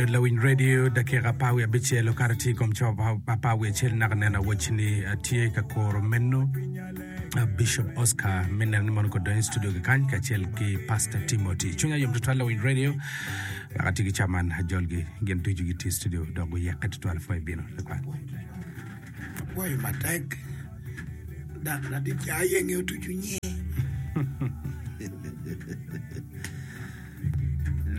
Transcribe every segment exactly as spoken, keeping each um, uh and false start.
Lawiny Radio dakika apar wiye abicel okato tye i kom cawa apar wiye acel naka neno awaci ni atye ka kuro meno Bishop Oscar me neno ni mono kodonyo i studio kikany kacel ki Pastor Timothy. Cwinya yom tutwal Lawiny Radio wek ati ki caman ajolgi gin ducu gitye i studio dok guyekke tutwal pwo ibino lakwat. Apwoyo matek dok ladit ca ayenge otuco nyi.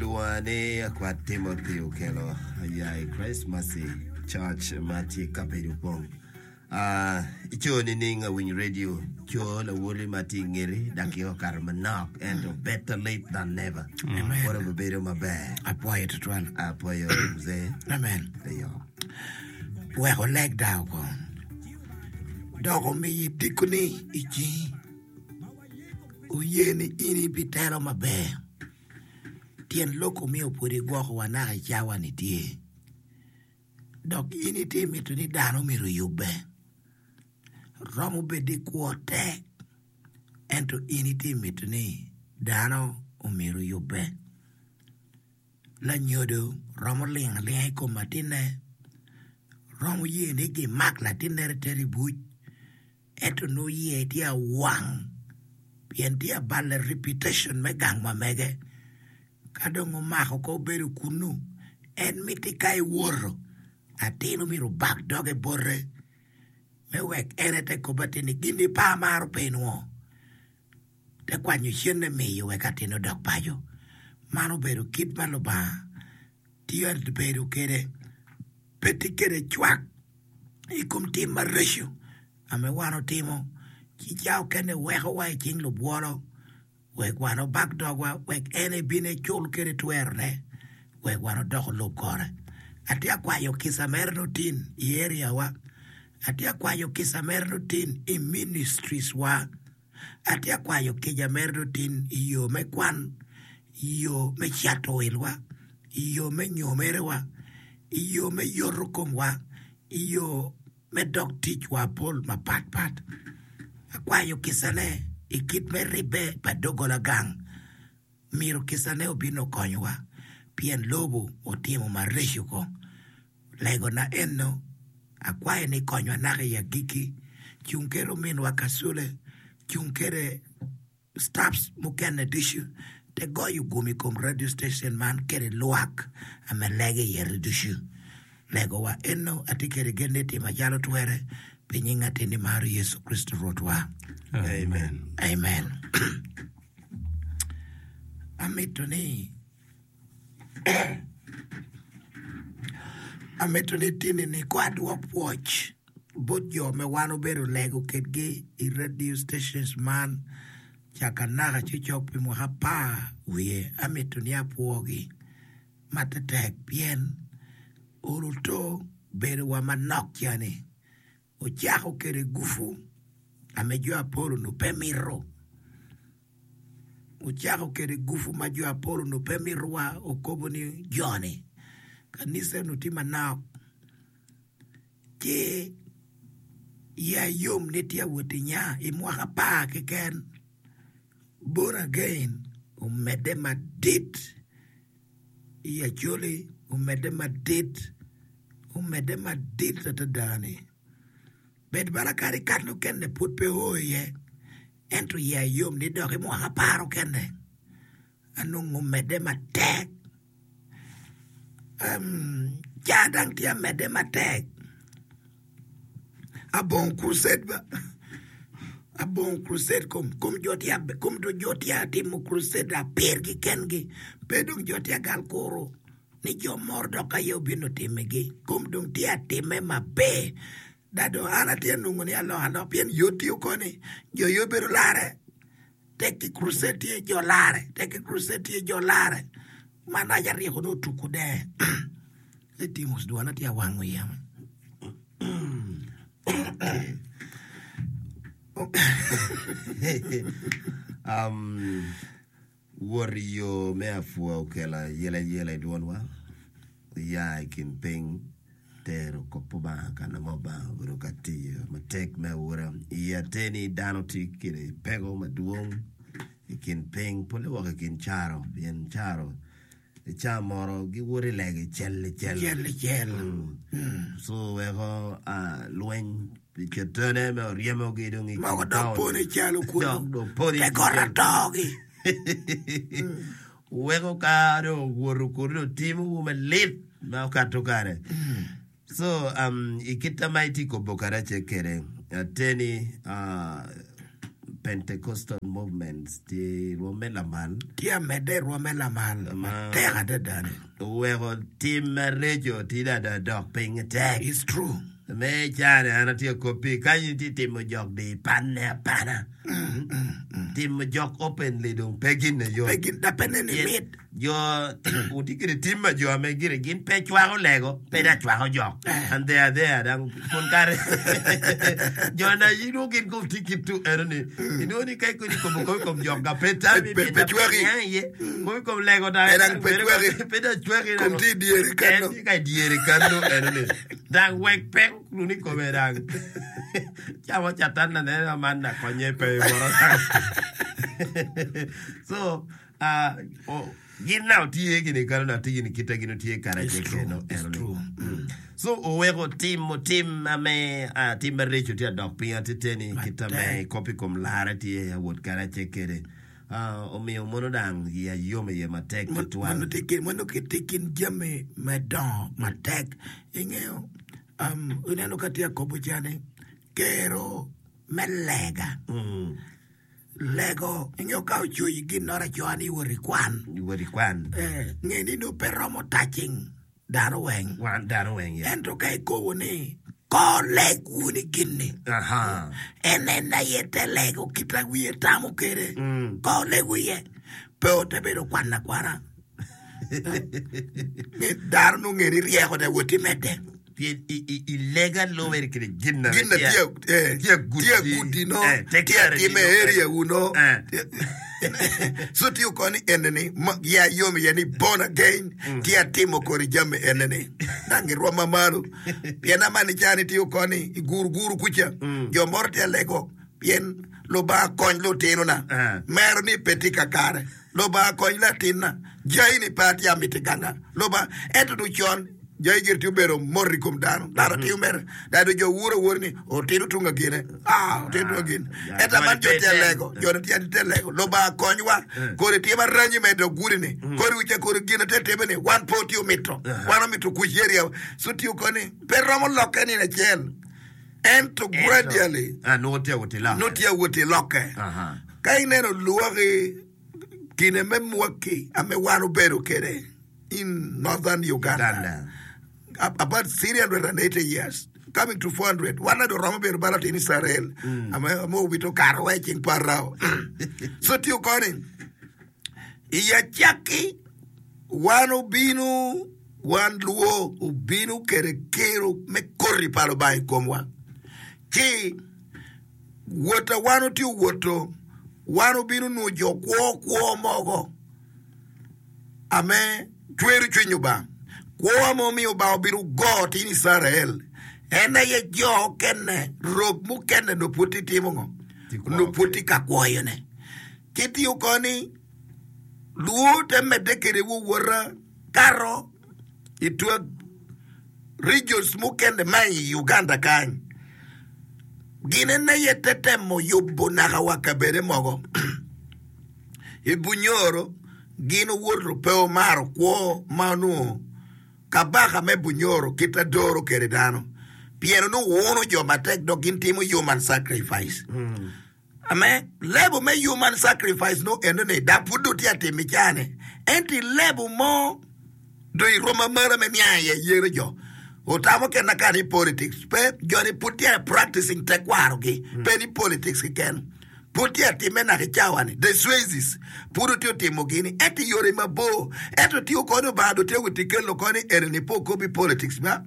Lwonga ni Akwat Timothy Okello aya i Christ Mercy Church ma tye i kabedo Opong. Ah, ico nining awiny radio? Co lawoli ma tye i ngeti dakika okato manok ento better late than never. Amen. Pwod obedo maber. Apwoyo tutwal. Apwoyo mzee. Amen. Eyo. Wek oleg dako kong. Dok omiyi tikoni i cingi. Oye ni in ibitelo maber. Tyen lok omiyo pwod igwokowa naka i cawa-ni tye. Dok in itye mito ni dano myero oyubbe. Romo bed ni kwo tek, ento in itye mito ni dano omyero oyubbe. Lanyodo romo ling alinga i kom latinne, romo ye ni gimak latinne ter i buc, ento nongo iye tye awang pien tye abalo reputation me gang ma mege. Ka dong omako ko obedo kunnu, en miti ka ewoto, atin myero obak doge bote me wek en ete kob atin ni gin ni pe amaro pe inwo. Te kwanyo cente miyo wek atin odok paco. Man obedo kit ma Lubanga tye bedo kwede. Pe tye kwede cwak i kom tim maraco ame wan otimo ci ca okene wekowa i cing lubwolo wek wan obak dogwa wek en ebin ecul kwede twerone wek wan odok olub kore. Atye akwayo kica mere lutin i area wa, atye akwayo kica mere lutin i ministries wa, atye akwayo kica mere lutin i yo me kwan, i yo me cato wilwa, i yo me nyomerewa, i yo me yoto komwa, i yo me dog ticwa pol mapatpat. Akwayo kicane i kit me ribbe pa doggola gang. Myero kicane obin okonyowa pien lobo otimo maraco ko. Legona eno, akwayo ni konywa naka i agikki. Cung kede ominwa Kasule, cung kede staffs mukene ducu te goyo gum i kom radio station man kede lwak ame lego iye ducu. Legowa eno atye kede gen ni timo acalo twere pi nying atin maro Yecu Kricito Rwotwa. Amen. Amen. Amito ni amito ni tini ni ko adwok pwoc bot jo me wan obedo lego kedgi i radio stations man caka naka cocok pi mwaka apar wiye amito ni apwogi matetek pien oluto bedowa manok cani ocako kede gufu ame jo apol onongo pe mito ocako kede gufu ma jo apol onongo pe mitowa okobo ni joni kanisa onongo tye manok ci iya yom ni tye awot inya i mwaka apar keken born again omedde madit i Acholi omedde madit omedde madit adada ni bed bala kadi kat nukene pud pe o iye ento iya yom ni dok i mwaka apar okene anongo omedde matek um, ca dang tye amedde matek abongo crusade ba abongo crusade kom kom jo tye kom do jo tye atimo crusade apir kikengi pe dong jo tye agal kuro ni jo moro dok aye obino timigi kom dong tye atime maber da dong an atye nongo ni alok alok pien yo tiyo koni jo yo bedo lare tek ki crusade tye jo lare tek ki crusade tye jo lare man aja ryeko ni otuko de Timos dwana tye awango yamo um, wot i yo me apua okelo ayelayela i dwonwa ya i kin piny tero kop pa Obanga ka nongo Obanga obedo ka tiyo matek me awora i ateni dano tye kede peko madwong i kin piny pole woko i kin caro pien caro I ca moro giwoto i lego i cel i cel. Cel i cel. So weko lweny pi cetane me oryemogi dong i kin Mogo dok taun. poni calo Dok kunu dong poni te got atogi. Weko ka dong owoto kunu dong timowu malit ma okato kare. So um, i kita ma itye kobo karace kede ateni uh, Pentecostal movements tye rwom me lamal Tye amedde i rwom me lamal matek adada ni. oweko tim mareco tye dada dok piny tek. It's true. Me cane an atye kopi kany itye timo jok di panne apana. Timo jok openly dong pe gin yot. Pe gin da pe neni mit. Jo wutye kede tim ma jo ame gire gin pe cwako lego pe da cwako jok and they are there dang pol kare jo na inwongo gin kom tye kit tu eno ni inwongo ni ka ikoni kobo kom i kom jok ga pe tami Pe- pe cwaki. niang iye kom i kom lego da Pe dang pe cwaki. pe da cwaki Kom tye i dyere kano. En tye ka i dyere kano eno ni dang wek pek luni kome dang camo catan na neno man na konye pe moro so Ah, oh, gin na otye gini kano na tye gini kita gin otye kara It's ce true, keno it's eno ni. true. Mm. So oweko timo tim ame ah, tim mareco tye adok piny ateteni kita me Matek. kopi kom lare tye awot kara ce kede. Ah, omiyo mono dang iya yom iye matek Mano tutwal. tye kin mano tye kin jami me dongo matek. Ingeyo, um, ineno ka tye akobo cani, kero me lega. Mm. Lego, ingeyo ka ocoyi gin noro acoa ni iwot ikwan. Iwot ikwan. Eh, nge ni nongo pe romo touching dano weng. Wan dano weng ya. Ento ka ikobo ni ko leg wunu gin-ni, Aha. en en aye te lego kita wiye tamo kede. Mm. Ko lego iye. Pe ote bedo kwan akwana. Nge dano nongo nge ni ryeko de wot imedde. Pien i, i, i lega loweri kede gin na Gin na tye tye eh, tye agudi. tye agudi no, Eh, tye tekare atime no. area wu no. Eh. So tye okoni eneni, ma ya yom iye ni born again, tye atimo kodi jami eneni. Dang irwoma malo. Pien amani cani tye okoni i guru guru kuca. Jo moro tye alego, pien Lubanga kony lutinona. Eh. Mero ni pe tye kakare. Lubanga kony latinna. Jai ni pe atye amiti ganga. Lubanga, ento dong con, jai gire tye obedo mot i kom dano. Dano tye mere. Dano jo wuro awora ni, otino tung agine. Ah, otino tung agine. Ah, Ento aman jo joni tye pe alego. ten. Jo tye tye alego. Lubanga konywa. Kodi tye maranyi me dog gudi ni. Kodi wica kodi gin ate time ni. Wan pe otye omito. Wan omito kuc area. So tye okoni, pe romo lokke nino acel. Ento gradually, Ah, nongo tye awot i lokke. nongo tye awot i lokke. Aha. Ka ineno lwaki kine me mwaki ame wan obedo kede in northern Uganda, Uganda. Ab- about three hundred and eighty years coming to four hundred wan ado romo bedo bala tin Israel ame ame owito karo wa ceng parao so tye okoni i acakki wan obino wan luo obino kede kero me koti pa Lubanga i komwa ci wota wan otye owoto wan obino nwo jo kwo kwo mogo ame cwero cwiny Obanga kwo ame omiyo Obanga obino go tin Israel en aye jo okene rok mukene no pud tye timo ngo Tye kwo no pud tye ka kwoyone ci tye okoni luo te medde kede wowota kato i twak regions mukene ma i Uganda kany gin en aye te temo yubo naka wa kabede mogo i Bunyoro gin owoto pe omaro kwo ma onongo kabaka me Bunyoro kita doro kede dano pien onongo wuno jo matek dok gin timo human sacrifice ame lebo me human sacrifice no eno ni da pud do tye atimo i cane ento i lebo mo do i rwom amara me niang iye yero jo otamo kena ka ni politics pe joni pud tye practicing tekwarogi pe ni politics keken pud tye atime naka i cawa ni the Swazis pud otye otimo gini ento i yore mabor ento tye okoni Obanga do tye woti kelo koni eni ni po kobi politics ba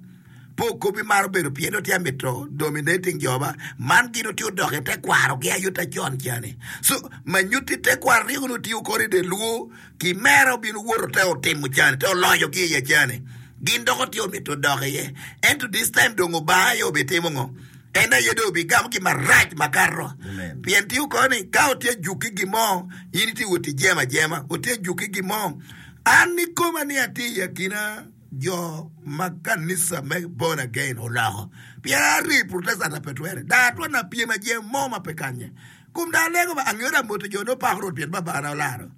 po kobi maro bedo pien otye amito dominating jo ba man gin otye odok i tekwarogi ayuta con cani so manyuti tekwaro ryeko ni otye okoni de luo ki mere obino woto te otimo cani te oloyogi iye cani gin dok otye omito odok iye ento this time dong Obanga aye obitimo ngo en aye dong obigamo gi marac makato Amen. pien tye okoni ka otye juki gimo in itye wot i jema jema otye juki gimo An ikoma ni atye i akina jo ma kanisa me born again oloko. Pien ari Protestant ape twere. Da atwon apyem ajem mo ma pe kanye. Kum da alego ba angeyo da moto jo no pako Rwot pien babana olaro.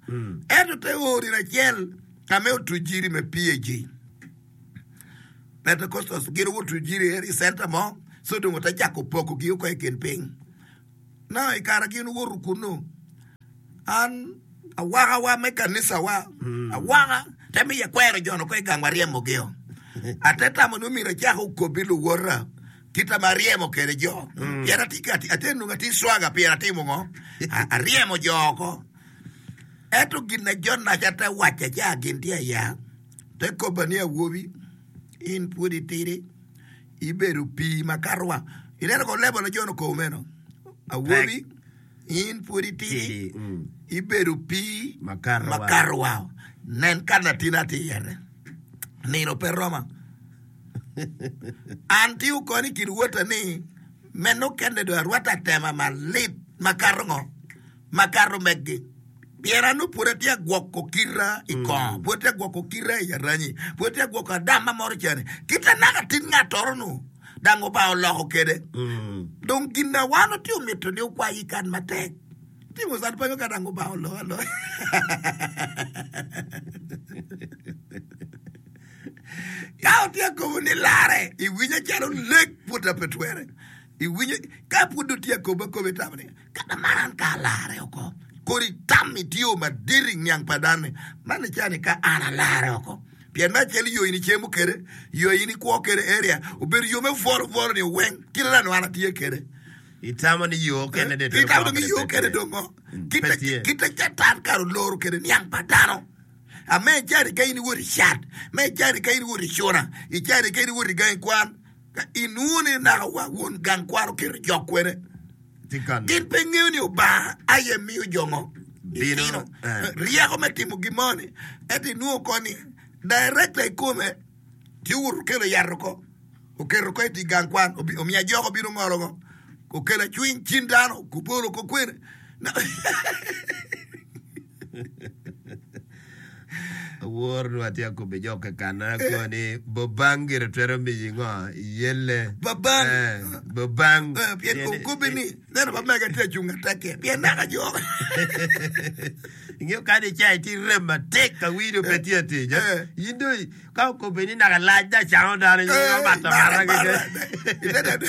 Ento te o nino acel ka me otuc jiri me P A G. Pentecostals gin otuc jiri i center mo, so dong ote cako pokogi oko i kin piny. Now i kare gin owoto kunnu, an awakawa me kanisawa, awaka te miyo akwero jo-nu oko i gang wa ryemogio. Ate tamo ni omyero acak okobi luwota kita ma aryemo kede jo. Pien atye ka ate nongo atye swaga pien atimo ngo? Aryemo jo oko. Ento gin na John Naca te wacca ca gin tye aya, te koba ni awobi, in pwod itidi, ibedo pii makato wa. Ineno ko level na John okobo meno? Awobi, in pwod itidi, ibedo pii makato wa. Nen ka latin atye iyete. Nino pe roma. An tye okoni i kin wota ni meno kene dong arwatte atema malit makato ngo? Makato meggi. Pien an nongo pwod atye agwoko kita i kongo, pwod atye agwoko kita i aranyi, pwod atye agwoko adamma moro cene. Kita naka tin ngattoro-nu dang Obanga oloko kede. Dong gin na wan watye omito ni okwayi kan matek. Timo can pe ka dang Obanga oloko aloka. Ka otye akobo ni larre, iwinyo calo lek pwod pe twere. Iwinyo ka pwod dong tye akobo akobo itamo ni kata man an ka alarre oko. Kodi tam itiyo madit i niang pa dano ni man ni cani ka an alarre oko. Pien me acel yo in icemo kede, yo in ikwo kede area obedo yo me bwolo bwolo ni weng kite dano an atye kede. Itamo ni yo kene de Itamo ni yo kene dong ngo? Kite kite catan kare oloro kede niang pa dano. Ame icani ka in iwot i cat, me icani ka in iwot i cuna, icani ka in iwot i gangi kwan, ka inwongo ni naka wa won gang kwan oketo jok kwene. Gin pe ngeyo ni Obanga aye miyo jo ngo? Litino ryeko me timo gin mo ni. Ento inwongo ko ni director i kome tye owoto okelo yat oko, oketo oko i gang kwan, omiyo ajok obino ngolo ngo, okelo acwiny cin dano, obolo oko kwene. Awor nongo atye akobbe jo kekana ako ni bobang gire twero miyi ngo iyelle. Babang. Eh, bobang. Eh, pien okobbe ni neno ba mega tye acung atekke pien naka jok. Ingeyo kadi ica itye rem matek ka wii dong pe tye atic. Eh. In dong ka okobbe ni naka lac dong acango dano in Eh, omato mara, amata mara. keken.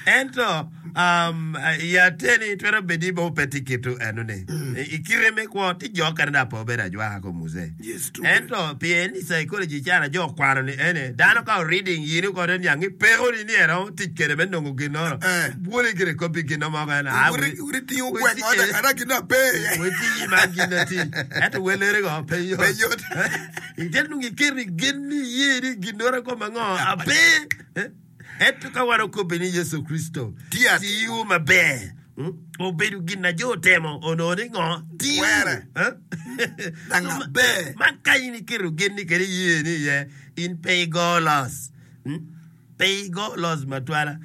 Ento um, i ateni twero bedo ni bo pe tye kitu enoni. I kite me kwo tye jo okene dok pe obedo ajwaka ko muse. Yes, true. Ento pien i psychology cana jo okwano ni ene dano ka reading yini kode niang ni peko ni ni eromo tic kede me nongo ginoro. Eh. Bwoli gire kopi gino mo kene. Ah, Uri uri tingo gweng oda kana gino ape. Weti ma gin ti. Ento welere go pe yot. Pe yot. Ite nongo ikeri gen ni iye ni ginoro ko mango ape. Eh? Ento ka wan okobbe ni Yecu Kricito Tye atir. tiyo maber, mm, obedo gin na jo otemo onongo ni ngo? Tiyo. Twere. Eh? Dang So, ma- aber. Man ka in iketo gen ni kede iye ni iye, in pe igo los. Mm? Pe igo los matwala.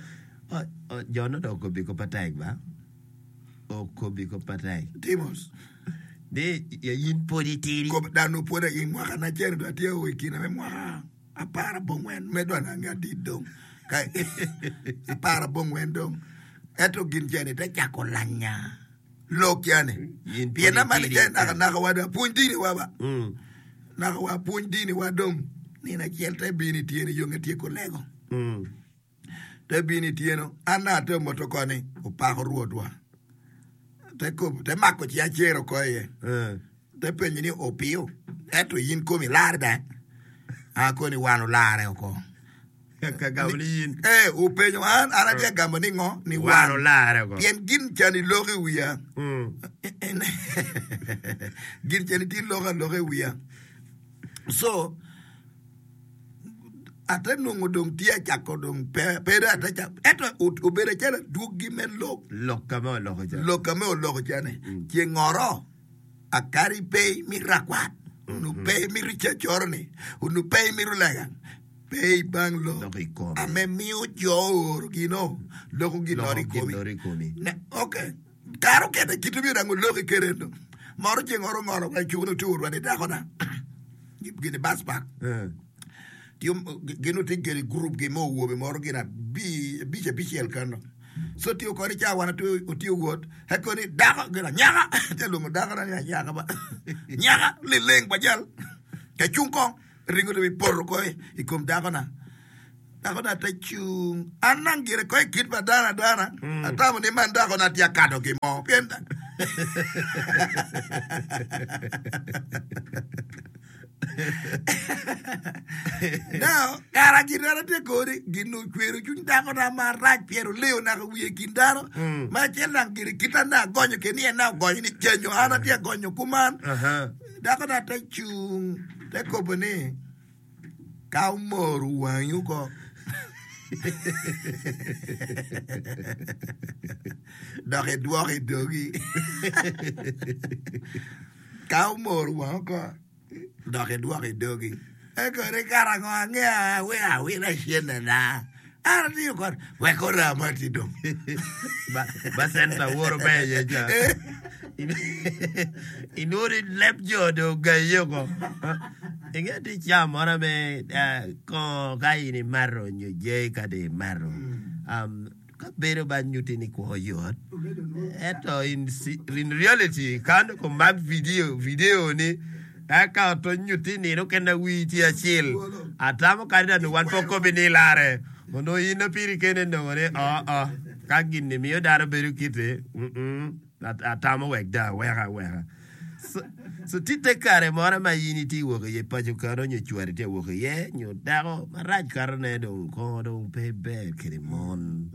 Oh, oh, jo no dong okobi ko patek ba? Okobi ko patek. Timos. Ni ya in pud itidi. Kob dano pwod i mwaka na cene dong atye o i kine me mwaka apar abongwen me dong ange adit dong ka apar abongwen dong ento gin cene te cako lanya lok yani In pud pien amani itidi. cene naka naka wa dong apwony dini wa ba Mm. naka wa apwony dini wa dong nino acel te bino ityeno yo nge tyeko lego Mm. te bino ityeno an na ate moto koni opako rwotwa te kobo te mako ci acero ko iye Eh. te penyo ni opiyo ento in komi lar da a koni wan olare oko Ka gamo ni in. Eh, openyo an an atye gamo ni ngo ni Wan wan olare oko. Pien gin cani loko i wiya. Mm. Gin cani tye loko aloka i wiya. So ate nongo dong tye acako dong pe pe dong ate cako ento o- obedo acalo adwogi me lok Lok ka ma oloko ca. lok ka me oloko cani ceng ngoro akari pe imito rakwat onongo pe imito cacoro ni onongo pe imito lega pe ibang lok Lok i kome. ame miyo jo ooro gino loko ginoro Loko i komi ginoro i komi. Ne, okay kare okene kite myero dang oloki kede no Moro ceng oro ngolo wa cuk no tur wa ni dakona. Gini bus park. Gin otye kede group gi mo owobe moro gin abic abicel kano. So tiyo kodi ca wan otiyo wot eko ni dako gin anyaka te lwongo dakona ni anyaka ba nyaka lileng pa jal ka cung kong ringo dong ipoto ko i kom dakona. Dakona te cung an nang gire ko i kit pa dano adana atamo ni man dakona tye akado gin mo pien Now, kara gin an atye kodi gin ocwero cwiny dakona marac pien oleo naka wiye i kin dano ma acel nang gire kit an dong agonyo kede ni en dong ogonyo ni cenyo an atye agonyo kuman dakona te cung te kobo ni ka omoro wangi oko dok idwoko i dogi ka omoro wangi oko dok idwoko i dogi eko ni kara ngo angeya awilo awila cennena an atiyo kod wek orama ti dong Ba centa woro ber iye ca. Inwongo leb jo dong ogayi oko. Inge tye ca moro me kongo ka in imato nyo jai ka dong imato ka bedo ba nyutti ni kwo yot ento in reality ka dong omak video video ni eka oto nyutti nino okene wii tye acel atamo kadi dong wan pe okobi ni ilare onongo in piri kene inongo ni oo ka gin-ni miyo dano bedo kite atamo wek dong aweka aweka. So tye te kare moro ma in itye wok iye paco kano nyo cwari tye wok iye nyo dako marac katone dong kongo dong pe ber kede mon.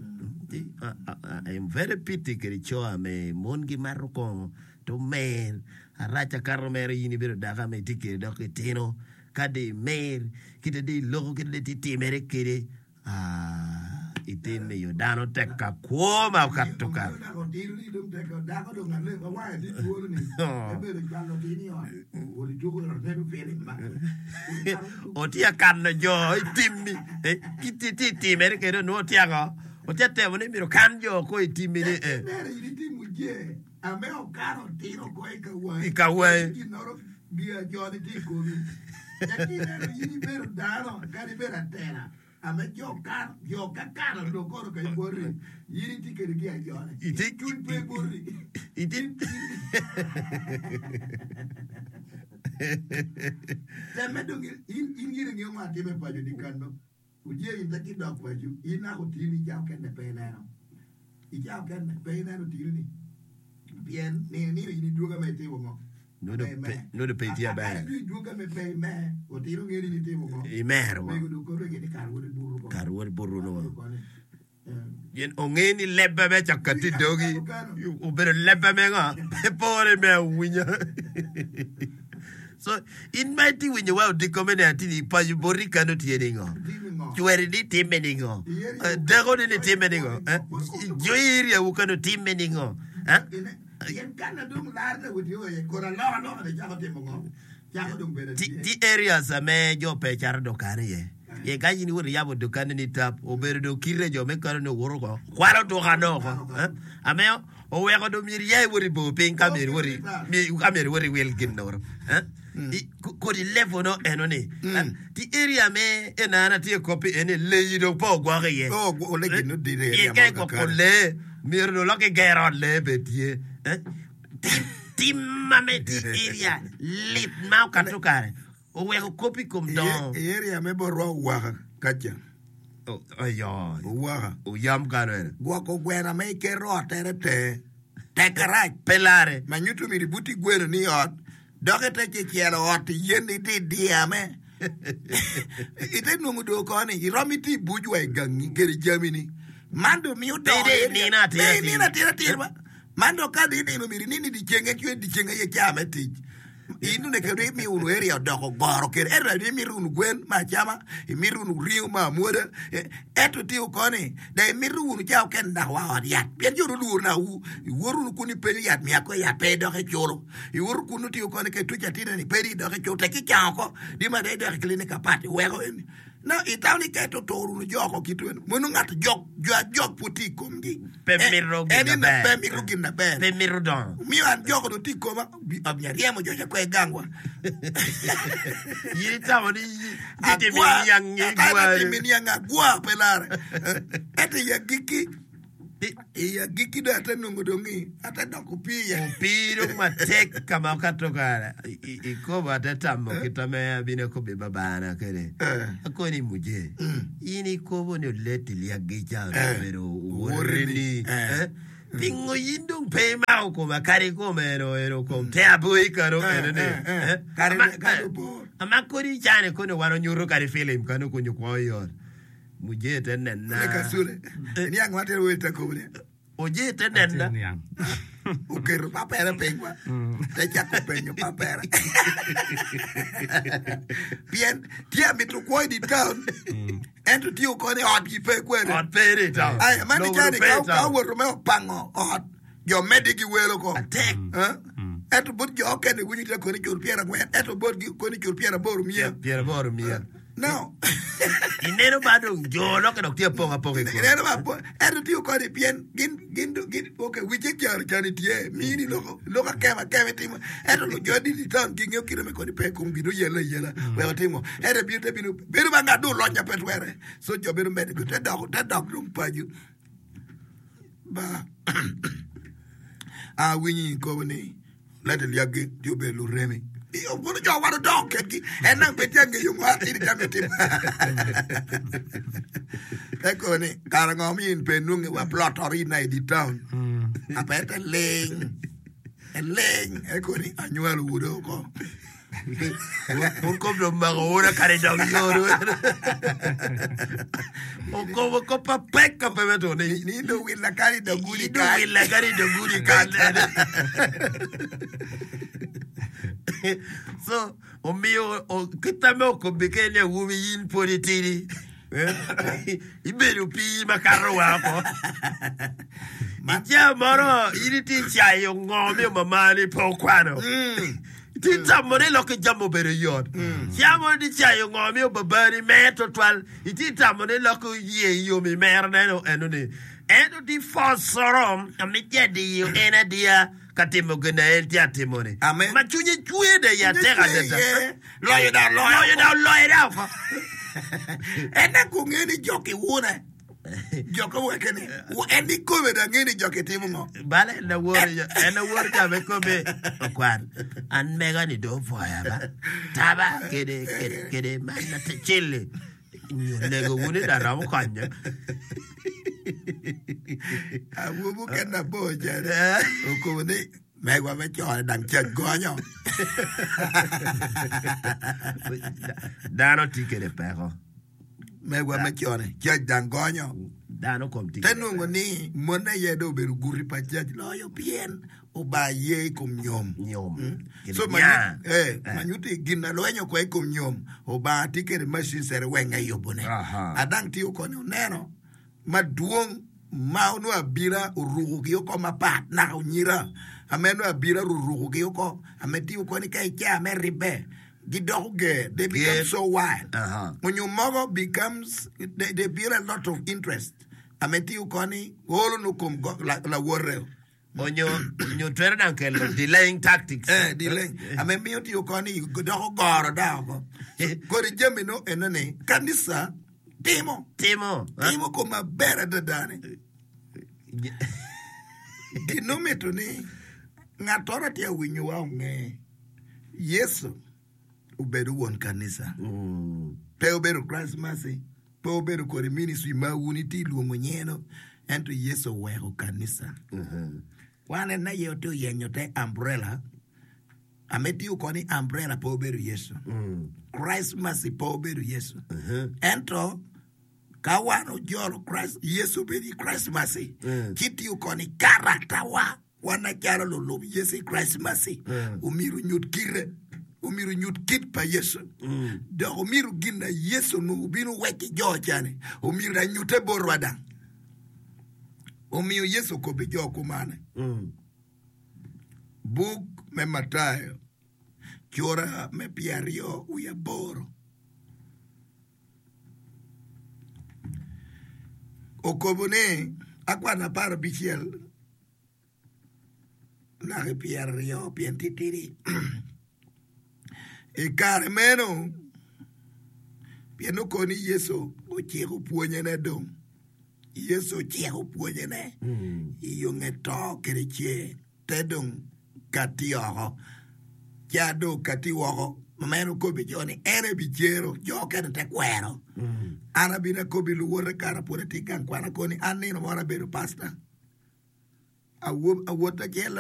I am very pity kede co ame mon gimato kongo to mer arac akato mere in ibedo dako ame itye kede dok itino ka dong imer kite dong iloko kite dong itye timere kede Ite miyo dano tek ka kwo ma okato kare. Otye kano jo i timmi tye timere kede onongo tye ango otye temo ni myero okan jo ko i timmi ni i ka wangi. Nongo pe itye aber. Imero kare wot ibuto nongo. Gin onge ni lebbe me cako kati i dogi obedo lebbe me ngo? Pe pore me awinya. So in ma itye winyo wa odiko me neno atini paco boti kano tye ningo? Cweri ni timme ningo? Dako ni ni timme ningo? Jo i area wu kano timme ningo? Tye areas ame jo pe cato dukan iye. Pien ka in iwoto iyabo dukanni ni tap, obedo dong kite jo me kano ni owoto oko, kwalo dukane oko. Ame oweko dong myero iya iwot i bor piny ka myero iwot ka myero iwot iwil gin noro. Kodi level no eno ni. Tye area me ena an atye kopi eni leyi dong pe ogwoko iye. Pien ka igwoko lee myero dong lok iger ot lee bed tye. Tim ma me tye area lit ma okato kare oweko kop i kom dongo. I area me botwa owaka kaca. Ayo. Owaka. Oyam kano ene. Gwoko gwena ma iketo ot tere tenge. Tek arac. Pe lare. Ma nyuto myero ibuti gweno ni ot dok ite ci celo ot yen ite idyame. Ite nongo do ko ni iromo iti ibuc wa i gangi kede jamini. Man do miyo dongo. Pe inino atir atir. Pe inino atir atir ba. Man dong ka dong inino myero inin ni dyeceng en cwer dyeceng aye caa me tic. In onongo kede imiyo wunu area odoko goro kede ento dong imito wunu gwen me acama, imito wunu ringo me amwoda ento tye koni dong imito wunu caa okene dok wa ot yat pien jo olworo nawu iwoto wunu kun ipenyo yat miya ko yat pe idok iculo iwoto kun tye koni ka ituco atineni pe idok iculo tek icango oko di ma dong idok i clinic apat iweko eni Na itamo ni ka ito toro wunu jo oko kit weno, mono ngat jok, jo ajok pud tye i komgi. Pe En- mito gin en ina maber. pe mito gin maber. Pe mito dongo. Miyo an jok onongo tye i koma, bi- amiyo aryemo jo ca kwe gangwa. In itamo ni itimo Agwa, niang akana igwari. timo niang agwa pe lare. Ento i agikki, i agikki dong ate nongo dong i, ate doko opii iye. Opii dong matek ka ma okato kare i- i- ikobo ate tamo kit ame abino akobo babana kwede. Eh. Akoni muje, in ikobo ni oleti lyaggi ca Eh. obedo Owoteni. owoteni. Eh. Eh? Pingo in dong pe imako koma kadi kome eno eno kom te aboi kano Eh, eno ni. eh, eh. Eh? Kare- Ama- kare eh, obor. Ama kodi cane kono wan onyuto kadi filim kano kunyo kwo i ot. Muje te nena. Ne kasule. Niang ma tero wel ta kobo ni. Oje te nena. Niang. Oketo papere piny wa. Te cako penyo papere. Pien tye amito kwo i di town. Ento tye okone ot gi pe kwede. Ot pe iri i town. Aya, man Lobo icani pe i ka ka town. owoto me opango ot, jo meddi gi welo ko. Atek. Eh? Ento bot jo okene winyo tye koni cul pyerangwen, ento bot gi koni cul pyeraboro miya. Pyeraboro miya. No. Ineno ba dong jo loke dok tye apong apong i kome. Ineno ba po, ento tye koni pien gin gin gin okay wice caro cani tye mini loko loko akema akema itimo ento lo jo di town ging'eyo kite me koni pe kom gino yelo ayela wek otimo ento bino te bino bedo ma ng'at dong olonya pe twere so jo bedo medde te dok te dok dong paco ba awinyo i kobo ni lete lyaggi tye obedo luremi Iyo, kono jo wan odok kedgi en nang pe tye angeyo ngo atidi jami timo eko ni kara ngo mi in pe nwonge wa plot oro in i di town ape te ling ling eko ni anywalo wude oko Un kom dong mako wun kadi dok yoru. Okobo ko pa pek ka pe meto ni. ni do willa kari do gudi Ido willa kadi dok gudi kan. So, omiyo o- kita me okobi kene awobi in pud itidi. Eh? Ibedo pii makato woko. Ica moro in itye cayo ngo miyo mamani pe okwano. Itye tamo ni lokke jami obedo yot. Ca moro itye cayo ngo miyo babani mer twatwal. Itye tamo ni lokke oye yom i mer neno eno ni. Ento tye fosoro ame tye adiyo en adiya ka timo gin na en tye atimo ni. Amen. Ma cwinye cwer da ya tek adada. Loyo da loyo. Loyo da oloyo da oko. En ako ng'e ni jok iwune. Jok oweke ni. En ikome da ng'e ni jok itimo ngo. Bala en awor en awor ka me kome okwar an mega ni do opwoya ba taba kede kede kede man na te cili nyo lego wuni da romo konyo Awobi mukene abor cene. Okobo ni megwa me cone dang cac gonyo. Dano tye kede peko Megwa me cone cac dang gonyo. Dano kom tye Te kede nongo ni mon aye dong obedo guti pa cac loyo pien oba ye i kom nyom. Nyom. Kede So nya. ma eh manyuti gin na lwenyo kwa i kom nyom oba tye kede machine sere weng eyubone. Aha. Adang tiyo koni oneno madwong ma onongo abila orukogi oko mapat naka onyira ame nongo abila orukogi oko ame tiyo koni ka ica me ribbe gidoko ger they become Ger. so wild Aha. onyo mogo becomes they, they build a lot of interest ame tiyo koni olo no kom go- la- lawote onyo onyo twero dang kelo delaying tactics Eh, delay. Ame miyo tiyo koni doko goro da oko. So, kodi jami no enoni kanisa timo timo timo ko maber adada ni gino mito ni ng'atoro tye winyowa ong'e Yesu obedo wuon kanisa Mm. pe obedo Christ Mercy pe obedo kodi ministry ma wun itye luongo nyeno ento Yesu oweko kanisa wan en aye ote oyenyo te umbrella ame tiyo koni umbrella pe obedo Yesu Mm. Christ Mercy pe obedo Yesu ento ka wan ojolo Christ Yesu obedo i Christ Mercy Mm. ci tiyo koni character wa wan acalo lulub Yesu i Christ Mercy Mm. omyero onyut kite omyero onyut kit pa Yesu dok omyero gin na Yesu onongo obino wek ki jo cani omyero anyute botwa dang omiyo Yesu okobo jo kumane Mm. Buk me Matayo cura me pyeraryo wiye aboro Okobo ni akwano apar abicel naka i pyeraryo pien titidi. I kare meno, pien oko ni Yecu ociko pwonyene dong, Yecu ociko pwonyene i yo nge to kede cer, te dong katti oko. Ca dong okatti woko, ma en okobi jo ni en ebicero, jo okene te kwero. An abino akobi luwote kara pwod atye i gang kwan akoni an nino moro abedo pasta. Awob awot acel